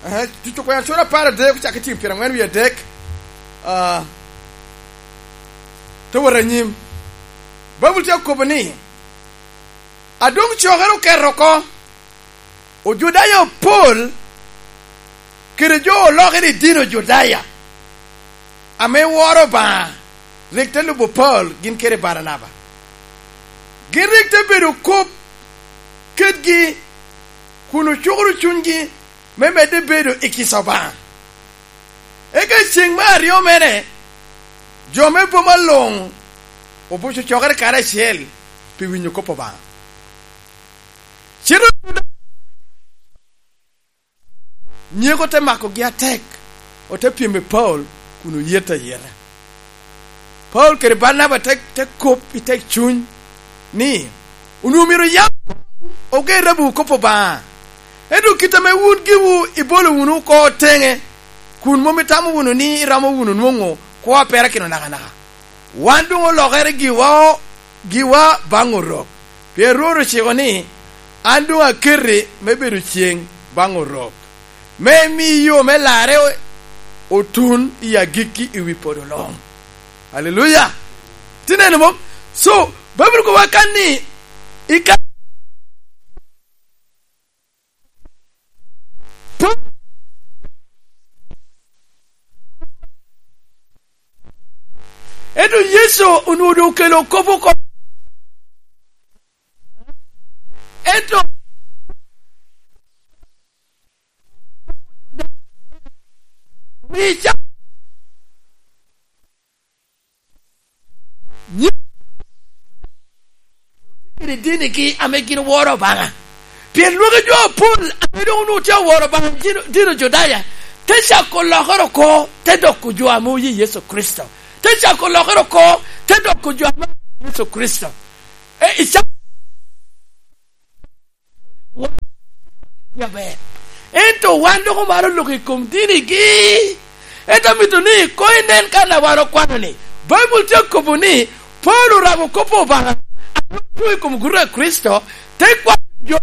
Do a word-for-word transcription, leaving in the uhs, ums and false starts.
Eh, Tuco kwena cura apar adek, ocako i tyeng pyeraŋwen wie adek. Ah, te wot anyim. Baibul tye okobo ni, "A doŋ cokere oket oko, Ojudaya opol kede jo olokere i dini Ojudaya, ame woro Obaŋa, rik te lubo Paulo gin kede Baranaba. Gin rik te bedo kop kedgi, kun ocukoro cunygi me medde bedo i kica Obaŋa." Eka i ceŋ me aryo mere, jo me boma luŋ obuco cokere karacel pi winyo kop Obaŋa. Cite nyeko te makogi atek, ote pyem i Paulo kun oyet ayeta. Paulo kede Barnaba te, te kop i tek cuny ni, "Onwoŋo myero yam oger abu kop Obaŋa, ento kit ame wun giwu ibolo wunu oko teŋe, kun mom itamo wunu ni iromo wunu nwoŋo kwo a perakino nakanaka. Wan doŋ olokere giwa, giwa baŋ Orok, pien Rwot ociko ni, 'An doŋ aketi me bedo ceŋ baŋ Orok, me imi yo me larre otun i agikki i wi podo luŋ.'" Aleluya! Tineno mom? So, Baibul kobo kan ni, i ka-, ento Yecu onwoŋo doŋ okelo kop oko. Ento, mi ca-, nyi-, kede dinigi ame gin oworo Obaŋa. Pien lwagi jo apol ame doŋ onwoŋo tye oworo Obaŋa dino, dino Judaya, te cako lokere oko, te doko jo ame oye Yecu Kricito. Te cako lokere oko, te doko jo ame oye Yecu Kricito. E, i ca-, wan tye aber. Ento wan dok omaro lok i kom dinigi. Ento amito ni koŋ inen kan a wan okwano ni, Baibul tye okobo ni, Paulo orabo kop Obaŋa, ame otye i kom guto a Kricito, te kwano jo